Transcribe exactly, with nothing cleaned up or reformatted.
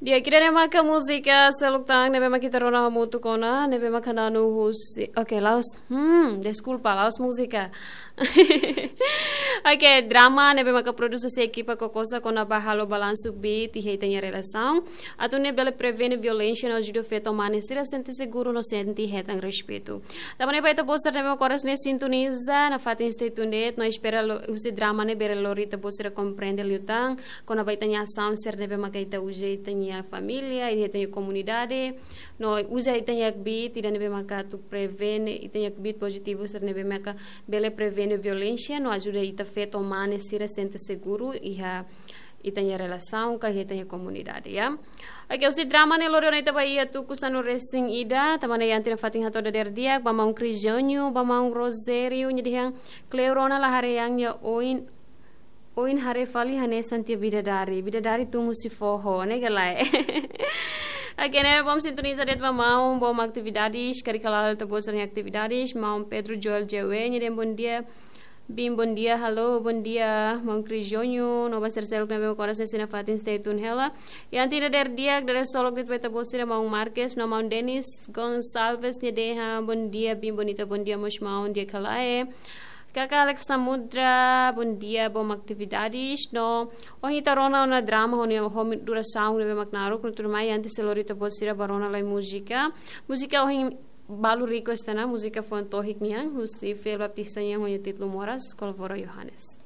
Di'ak, ida-ne'e maka múzika seluk tan ne'ebé maka ita rona hamutuk ona, ne'ebé maka na'an husi, oke, la'ós, hmm, deskulpa, la'ós múzika. Oke, drama ne'ebé maka produsaun husi ekipa Kokosa kona-ba halo balansu beat iha ita-nia relasaun, atu nune'e bele prevene violénsia no ajuda feto mane sira sente seguru no sente hetan respeitu. Tanba ne'e ba ita-boot sira ne'ebé maka oras ne'e sintoniza nafatin Stay Tuned no espera lo, husi drama ne'e bele lori ita-boot sira komprende liután kona-ba ita-nia asaun sira ne'ebé maka ita uza iha ita-nia família, iha ita-nia komunidade, no uza ita-nia kbiit ida ne'ebé maka atu prevene, ita-nia kbiit pozitivu sira ne'ebé maka bele prevene violénsia no ajuda ita feto mane sira sente seguru iha ita-nia relasaun ka iha ita-nia komunidade, ya. Oke, husi drama ne'e lori ona ita ba iha tuku sanulu-resin-ida, tanba ne'e iha ita-nia fatin hato'o dadeer di'ak, ba maun Crisionio, ba maun Rosério, nia dehan kleur ona la haree an nia oin, oin haree fali hanesan tiha bidadari, bidadari tun husi foho, ne'e ka lae. Oke, ne'e bom sintoniza de'it ba maun, bom atividades, karik hala'o ita-boot sira-nia atividades, maun Pedro Joel Jewe, nia dehan bondia, Bin, bondia, halo, bondia, maun Crisionio, no ba sira seluk ne'ebé maka oras ne'e sei nafatin Stay Tuned hela. Iha ita-nia dadeer di'ak, dadeer solok de'it ba ita-boot sira maun Marques, no maun Denis Gonçalves nia dehan, bondia, Bin Bonita, bondia, mós maun, di'ak ka lae. Kaka Alex Samudra, bondia, bom atividades, no ohin ita rona ona drama, ho nia, ho nia durasaun ne'ebé mak naruk, no tuirmai, antes sei lori ita-boot sira ba rona lai múzika. Múzika ohin balu request ona, múzika foun tohik nian, husi Fel Baptista nian, ho nia títulu Moras, Kolvora Yohanes.